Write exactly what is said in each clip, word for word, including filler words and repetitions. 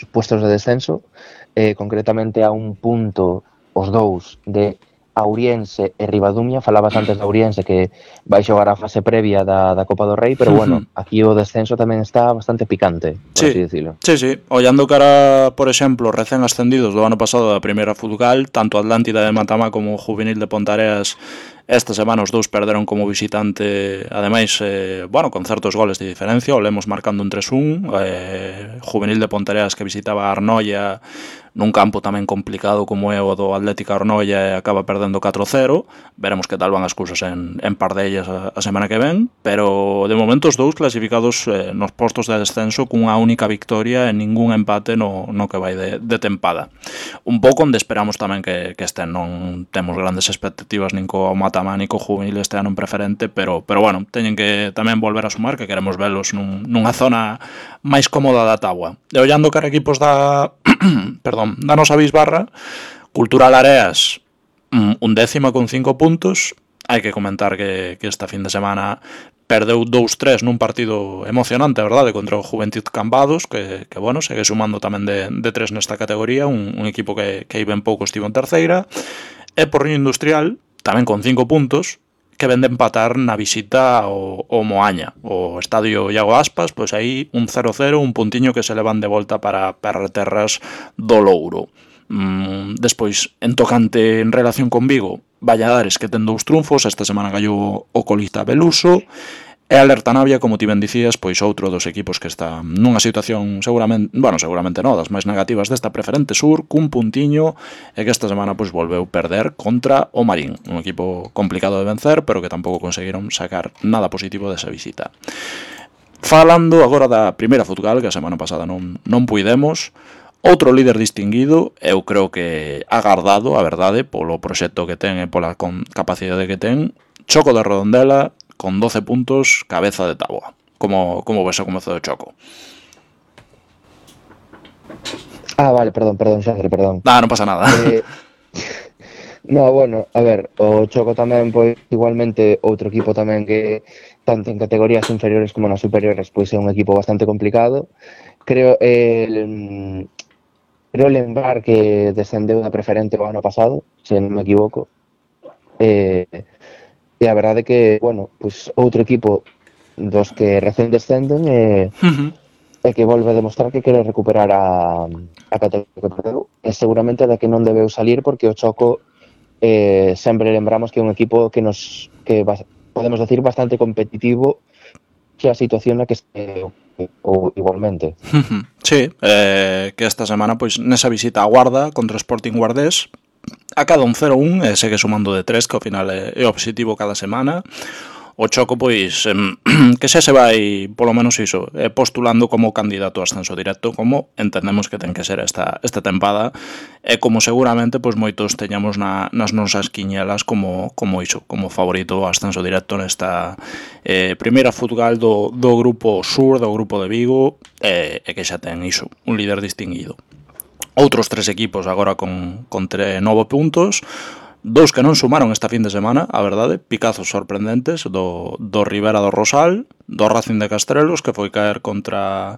puestos de descenso, eh, concretamente a un punto os dous de Auriense e Ribadumia. Falabas antes de Auriense que vai xogar a fase previa da, da Copa do Rei, pero bueno, aquí o descenso tamén está bastante picante, por sí, así decirlo. Sí, sí, ollando cara, por exemplo, recén ascendidos do ano pasado da primeira Futsal, tanto Atlántida de Matamá como o Juvenil de Pontareas esta semana os dous perderon como visitante, ademais, eh, bueno, con certos goles de diferencia, o Lemos marcando un tres un, eh, Juvenil de Pontareas que visitaba a Arnoia nun campo tamén complicado como é o do Atlético Arnoia e acaba perdendo catro cero. Veremos que tal van as cousas en, en Pardellas a, a semana que ven, pero de momento os dous clasificados eh, nos postos de descenso cunha única victoria e ningún empate no, no que vai de, de tempada. Un pouco onde esperamos tamén que, que estén, non temos grandes expectativas nin co Matamá ni co Juvenil este ano en preferente, pero, pero bueno, teñen que tamén volver a sumar, que queremos velos nun, nunha zona máis cómoda da táboa. E ollando cara equipos da perdón, da nosa bisbarra, Cultural Areas un décima con cinco puntos. Hai que comentar que, que esta fin de semana perdeu dous tres nun partido emocionante, a verdade, contra o Juventud Cambados, que, que bueno, segue sumando tamén de, de tres nesta categoría, un, un equipo que, que aí ben pouco estivo en terceira. E Porriño Industrial, tamén con cinco puntos, que ven de empatar na visita ao, ao Moaña, o estadio Iago Aspas, pois aí un cero cero, un puntiño que se levan de volta para Perreterras do Louro. Mm, despois, en tocante en relación con Vigo, Valladares que ten dous triunfos, esta semana gallou o colista Beluso, e Alerta Navia, como ti ben dicías, pois outro dos equipos que está nunha situación seguramente, bueno, seguramente non, das máis negativas desta preferente sur, cun puntiño, e que esta semana pois volveu perder contra o Marín, un equipo complicado de vencer, pero que tampouco conseguiron sacar nada positivo desa visita. Falando agora da primeira Futsal, que a semana pasada non, non puidemos, outro líder distinguido, eu creo que agardado, a verdade, polo proxecto que ten e pola capacidade que ten, Choco de Redondela, con doce puntos, cabeza de táboa. Como, como ves o comezo do Choco? Ah, vale, perdón, perdón, Xandre, perdón. Ah, non pasa nada. Eh, no, bueno, a ver, o Choco tamén, pois, igualmente, outro equipo tamén que, tanto en categorías inferiores como nas superiores, pois é un equipo bastante complicado. Creo, eh, creo lembrar que descendeu da preferente o ano pasado, se non me equivoco. Eh, E a verdade é que, bueno, pois outro equipo dos que recén descenden e, uh-huh. e que volve a demostrar que quere recuperar a, a categoría que perdeu. E seguramente da que non debeu salir porque o Choco eh, sempre lembramos que é un equipo que nos que podemos decir bastante competitivo que a situación na que este ou igualmente. Uh-huh. Sí, eh, que esta semana pois nesa visita a Guarda contra o Sporting Guardés acada un cero un e segue sumando de tres, que ao final é, é o objetivo cada semana. O Choco, pois, eh, que xa se vai, polo menos iso, eh, postulando como candidato a ascenso directo, como entendemos que ten que ser esta, esta tempada, e como seguramente pois moitos teñamos na, nas nosas quiñelas como, como iso, como favorito a ascenso directo nesta eh, primeira Futsal do, do grupo sur, do grupo de Vigo, e, e que xa ten iso, un líder distinguido. Outros tres equipos agora con, con tre, nove puntos, dous que non sumaron esta fin de semana, a verdade, picazos sorprendentes do, do Ribera do Rosal, do Racing de Castrelos, que foi caer contra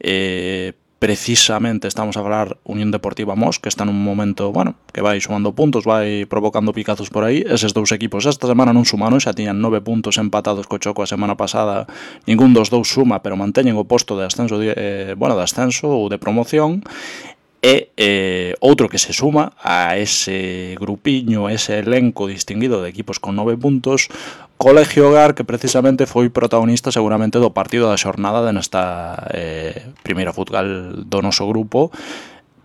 eh, precisamente, estamos a falar, Unión Deportiva Mos, que está nun momento, bueno, que vai sumando puntos, vai provocando picazos por aí. Eses dous equipos esta semana non sumaron, xa tiñan nove puntos empatados co Choco a semana pasada, ningún dos dous suma, pero manteñen o posto de ascenso, eh, bueno, de ascenso ou de promoción. E eh, outro que se suma a ese grupiño, ese elenco distinguido de equipos con nove puntos, Colegio Hogar, que precisamente foi protagonista seguramente do partido da xornada de nesta eh, primeira Futsal do noso grupo,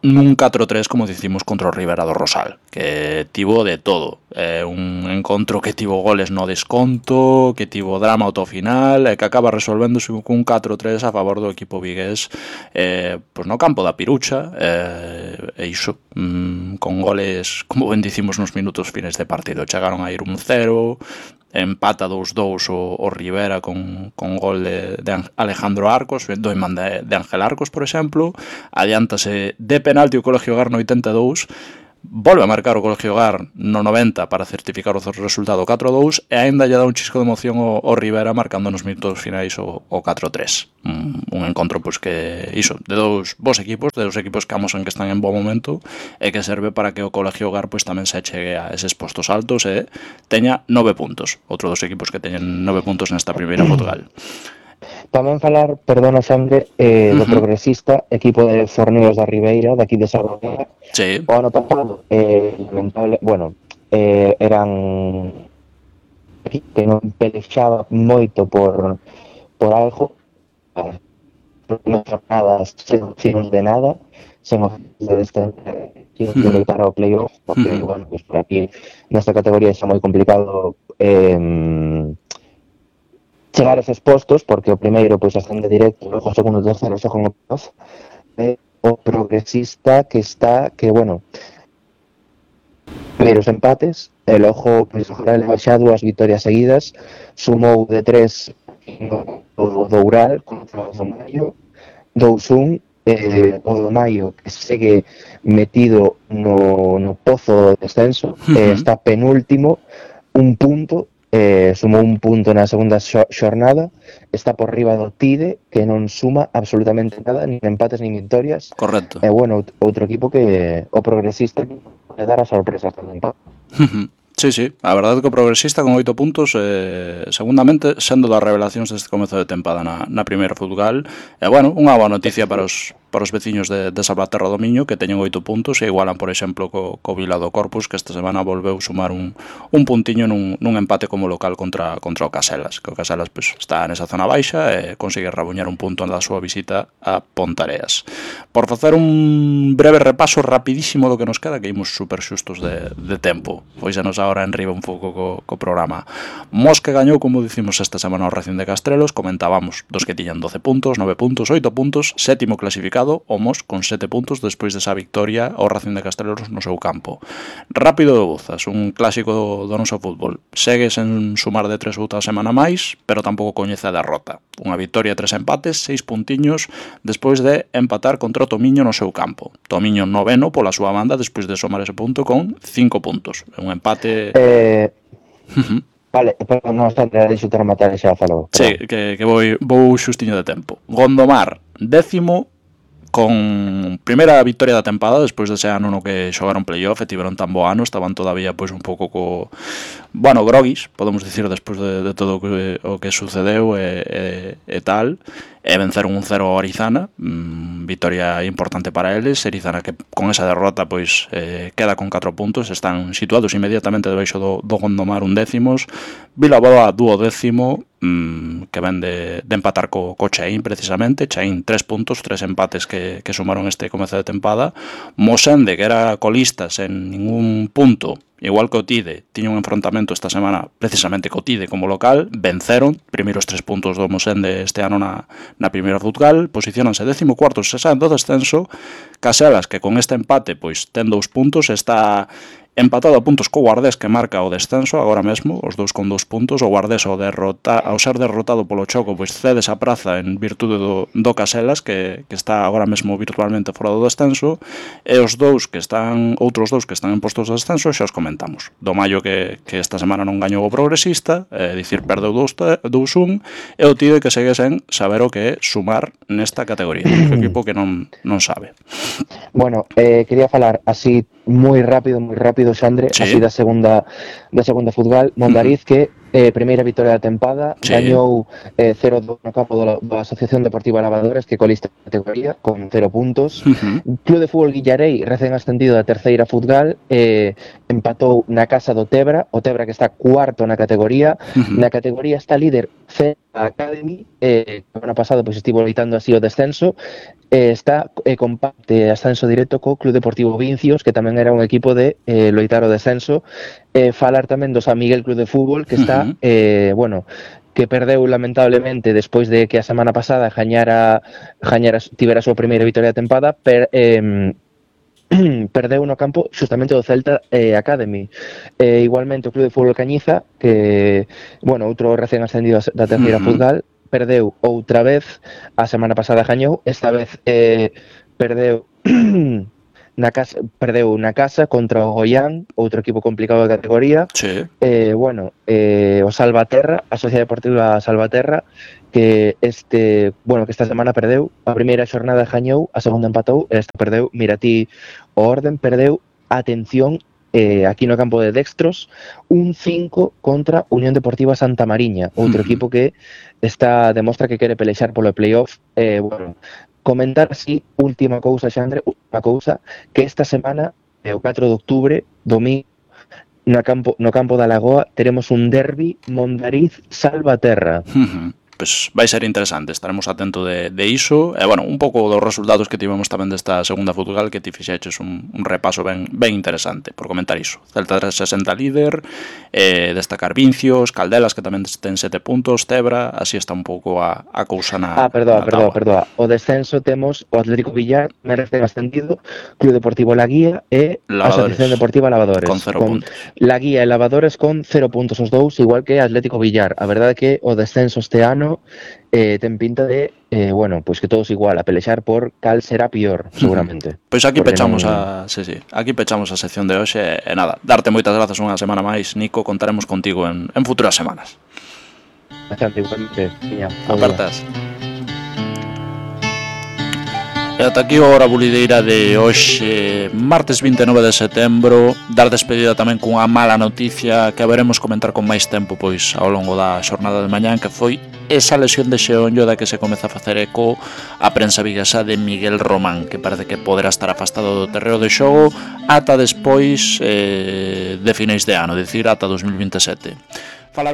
nun catro tres, como dicimos, contra o Ribera do Rosal, que tivo de todo. É un encontro que tivo goles no desconto, que tivo drama ao final, e que acaba resolvéndose cun catro tres a favor do equipo vigués, eh, pois no campo da Pirucha, eh, e iso, mm, con goles, como ben dicimos, nos minutos fines de partido. Chegaron a ir un cero, empata dous dous o, o Ribera con, con gol de, de Alejandro Arcos, do imán de, de Ángel Arcos, por exemplo. Adiántase de penalti o Colegio Hogar no oitenta e dous, volve a marcar o Colegio Gar no noventa para certificar o resultado catro a dous e aínda lle dá un chisco de emoción o, o Rivera marcando nos minutos finais o, o catro a tres. Un, un encontro pois que iso, de dous bons equipos, de dous equipos que amosan que están en bo momento e que serve para que o Colegio Gar pois tamén se achegue a eses postos altos e teña nove puntos. Outro dos equipos que teñen nove puntos nesta primeira Footgal. Tamén falar, perdona Xandre, eh, do uh -huh. Progresista, equipo de Forneos da Ribeira, daqui de Sarroga. Sí. O ano pasado, eh, lamentable, bueno, eh, eran que non pelexaba moito por, por algo, non jornadas sen opcións de nada, sen opcións de descender, sin uh -huh. lutar ao playoff, porque, uh -huh. bueno, pues por aquí, nesta categoría xa moi complicado eh, chegar a eses postos, porque o primeiro pois ascende directo, o segundo e terceiro xa con o playoff, e o Progresista que está, que bueno, primeiros empates, e logo pois agora leva xa dúas vitorias seguidas, sumou de tres o Doural contra o do Maio, dous un, eh, o do Maio que segue metido no, no pozo do descenso, uh -huh. eh, está penúltimo, un punto, Eh, sumou un punto na segunda xornada, está por riba do Tide, que non suma absolutamente nada, nin empates nin victorias. Correcto. E eh, bueno, outro equipo que o Progresista que dar a sorpresa tamén. Sí, sí, a verdade que o Progresista con oito puntos, eh, segundamente, sendo das revelacións deste comezo de tempada na, na primeira Footgal, e bueno, unha boa noticia para os para os veciños de, de Salvaterra do Miño, que teñen oito puntos e igualan, por exemplo, co, co Vila do Corpus, que esta semana volveu sumar un, un puntiño nun, nun empate como local contra, contra o Caselas, que o Caselas pues, está nesa zona baixa e consigue rabuñar un punto na súa visita a Pontareas. Por facer un breve repaso rapidísimo do que nos queda, que imos super xustos de, de tempo, pois xa nos agora enriba un pouco co, co programa. Mos que gañou, como dicimos esta semana o Racing de Castrelos, comentábamos dos que tiñan doce puntos, nove puntos, oito puntos, sétimo clasificado, o Mos con sete puntos despois desa victoria ao Racing de Castrelos no seu campo. Rápido de Bouzas, un clásico do, do noso fútbol. Segue sen sumar de tres outra semana máis, pero tampouco coñece a derrota. Unha victoria, tres empates, seis puntiños despois de empatar contra o Tomiño no seu campo. Tomiño noveno pola súa banda despois de somar ese punto con cinco puntos. Un empate... Eh... Uh -huh. Vale, pero non está deixo ter matar e xa falou. Sí, que, que vou, vou xustiño de tempo. Gondomar, décimo, con primeira victoria da tempada despois dese ano no que xogaron playoff e tiveron tan bo ano, estaban todavía pois un pouco co, bueno, groguis, podemos dicir, despois de, de todo o que, o que sucedeu e, e, e tal, e venceron un cero a Orizana, mm, victoria importante para eles. Orizana que con esa derrota pois eh, queda con catro puntos, están situados inmediatamente debaixo do, do Gondomar un décimos, Vilaboa duodécimo, mm, que ven de, de empatar co, co Chaín precisamente, Chaín tres puntos, tres empates que, que sumaron este comezo de tempada, Mosende que era colista sen ningún punto, igual que o Tide, tiña un enfrontamento esta semana precisamente co Tide como local, venceron, primeiros tres puntos do Mosende este ano na, na primeira Footgal, posicionanse décimo cuarto, se saen do descenso. Caselas, que con este empate pois ten dous puntos, está empatado a puntos co Guardés, que marca o descenso agora mesmo, os dous con dous puntos. O Guardés ao, derrota, ao ser derrotado polo Choco pois cede esa praza en virtude do, do Caselas, que, que está agora mesmo virtualmente fora do descenso, e os dous que están, outros dous que están en postos de descenso xa os comentamos. Do Maio que, que esta semana non gañou o Progresista, é dicir, perdeu dous un, e o Tide que segue sen saber o que é sumar nesta categoría, un equipo que non, non sabe. Bueno, eh, quería falar así moi rápido, moi rápido, Xandre, sí. Así da segunda da segunda Footgal, Mondariz, uh -huh. que eh, primeira victoria da tempada, sí. Gañou eh, cero dos no campo da, da Asociación Deportiva Lavadores, que colista a categoría, con cero puntos. Uh -huh. Club de Fútbol Guillarei, recén ascendido da terceira Footgal, eh, empatou na casa do Tebra, o Tebra que está cuarto na categoría. Uh -huh. Na categoría está líder C Academy, eh, que o ano pasado pois, estivo loitando así o descenso, eh, está eh, comparte ascenso directo co Club Deportivo Vincios, que tamén era un equipo de eh, loitar o descenso. Eh, falar tamén do San Miguel Club de Fútbol, que está, uh -huh. eh, bueno, que perdeu lamentablemente despois de que a semana pasada gañara, gañara tivera a súa primeira victoria da tempada, per, eh, perdeu no campo xustamente do Celta eh, Academy. Eh, igualmente o Club de Fútbol Cañiza, que, bueno, outro recén ascendido da terceira uh -huh. Footgal, perdeu outra vez, a semana pasada gañou, esta vez eh, perdeu na casa, perdeu na casa contra o Goián, outro equipo complicado de categoría. Sí. Eh, bueno, eh, o Salvaterra, a Sociedade Deportiva Salvaterra, que este, bueno, que esta semana perdeu, a primeira xornada gañou, a segunda empatou, e esta perdeu. Mira ti, o Orden perdeu, atención, eh, aquí no campo de Dextros, un cinco contra Unión Deportiva Santa Mariña, outro equipo que está demostra que quere pelexar polo playoff. Eh, bueno, comentar así, última cousa, Xandre, última cousa, que esta semana, eh, o catro de outubro, domingo, no campo, no campo da Lagoa, teremos un derbi Mondariz-Salvaterra. Uh-huh. Pois vai ser interesante, estaremos atentos de, de iso. E, bueno, un pouco dos resultados que tivemos tamén desta segunda futsal, que ti fixeches un, un repaso ben, ben interesante por comentar iso. Celta trescentos sesenta líder, eh, destacar Vincios, Caldelas, que tamén ten sete puntos, Tebra, así está un pouco a, a cousa na Ah, perdoa, na perdoa, táboa. perdoa. O descenso temos o Atlético Villar, Merece ascendido, Club Deportivo La Guía e Lavadores, Asociación Deportiva Lavadores. con cero con puntos. La Guía e Lavadores con cero puntos os dous, igual que Atlético Villar. A verdade é que o descenso este ano eh, ten pinta de, eh, bueno, pois pues que todos igual, a pelexar por cal será pior, seguramente. Pois aquí Porque pechamos non... a, sí, sí, aquí pechamos a sección de hoxe e nada, darte moitas grazas unha semana máis, Nico, contaremos contigo en, en futuras semanas. Bastante, igualmente. Tiña, Apertas. E ata aquí a hora bulideira de hoxe, martes vinte e nove de setembro. Dar despedida tamén cunha mala noticia que haberemos comentar con máis tempo pois ao longo da xornada de mañán, que foi esa lesión de xeonllo da que se comeza a facer eco a prensa viguesa de Miguel Román, que parece que poderá estar afastado do terreo de xogo ata despois eh, de finais de ano, dicir ata dos mil vinte e sete.